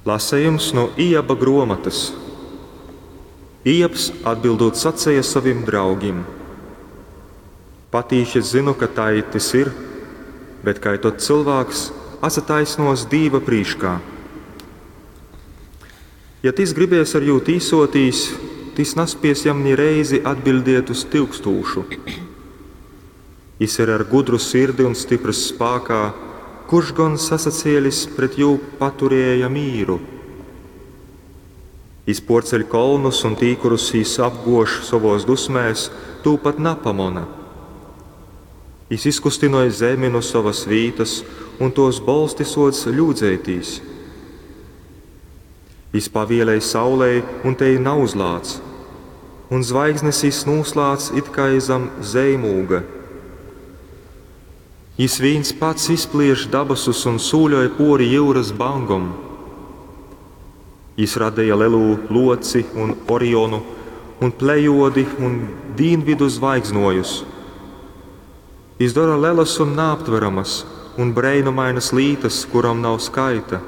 Lasejums nu Ijaba gruomotys. Ijabs atbildūt saceja sovim draugim, Patīši es zynu, ka tai tys ir, bet kai tod cylvāks atsataisnuos Dīva prīškā? Ja tys gribies ar jū tīsuotīs, tys naspies jam ni reizi atbiļdiet uz tyukstūšu. Jis ir ar gudru sirdi un styprys spākā, kurš gon sasacielis pret jū paturēja mīru? Jis puorceļ kolnus, un tī, kurus jis apguož sovuos dusmēs, tū pat napamona. Jis izkustynoj zemi nu sovys vītys, un tuos bolsti suoc ļūdzeitīs. Jis pavielej saulei, un tei nauzlāc, un zvaigznes jis nūslādz it kai zam zeimūga. Jis vīns pats izplieš dabasus un sūļoj puori jyurys bangom. Jis radeja Lelū Luoci un Orionu un Plejodi un dīnvidu zvaigznuojus. Jis dora lelas un naaptveramas un breinumainys lītys, kurom nav skaita.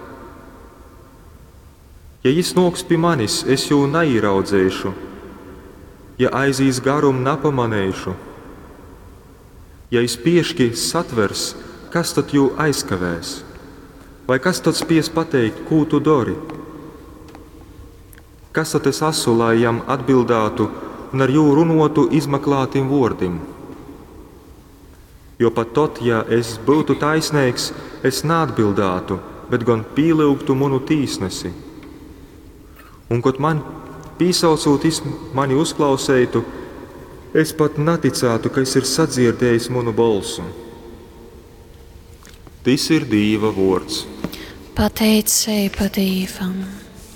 Ja jis nuoks pi manis, es jū naīraudzeišu, ja aizīs garum, napamaneišu. Ja jis pieški satvers, kas tod jū aizkavēs? Vai kas tod spies pateikt, kū tu dori? Kas tod es asu, lai jam atbildātu un ar jū runuotu izmaklātim vuordim? Jo pat tod, ja es byutu taisneigs, es naatbildātu, bet gon pīlyugtu munu tīsnesi. Un kod man pīsaucūt jis mani uzklauseitu, es pat naticātu, ka jis ir sadzierdējis munu bolsu. Tys ir Dīva vuords. Pateiceiba Dīvam.